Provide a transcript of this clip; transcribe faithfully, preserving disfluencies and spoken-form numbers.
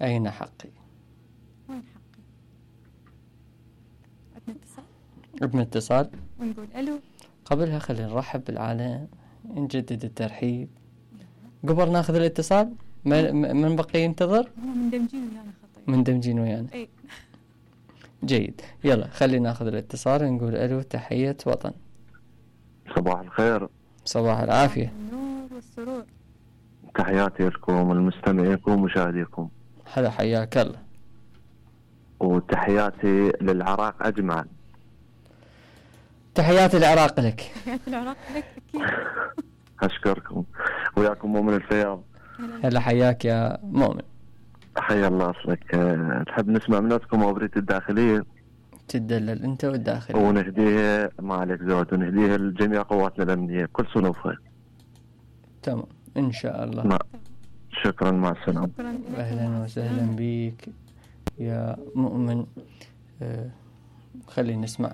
أين حقي؟ وين حقي؟ عندنا اتصال؟ ابن اتصال ونقول ألو. قبلها خلينا نرحب بالعالم، نجدد الترحيب قبل ناخذ الاتصال. من بقي ينتظر؟ مندمجين ويانا خطير. مندمجين ويانا. اي جيد، يلا خلينا ناخذ الاتصال نقول ألو. تحية وطن. صباح الخير. صباح العافية. النور والسرور. تحياتي لكم المستمعيكم ومشاهديكم. هلا حياك الله. وتحياتي للعراق أجمع. تحياتي العراق لك. تحياتي العراق لك أكيد. أشكركم. وياكم مؤمن الفياض. هلا حياك يا مؤمن. حيا الله أصلك. تحب نسمع مناتكم أغنية الداخلية؟ تدلل أنت والداخلية. ونهديها ما عليك زود، ونهديها لجميع قواتنا الأمنية بكل صنوفها. تمام إن شاء الله. ما. شكرا، مع السلامة. أهلا وسهلا بك يا مؤمن. آه خلينا نسمع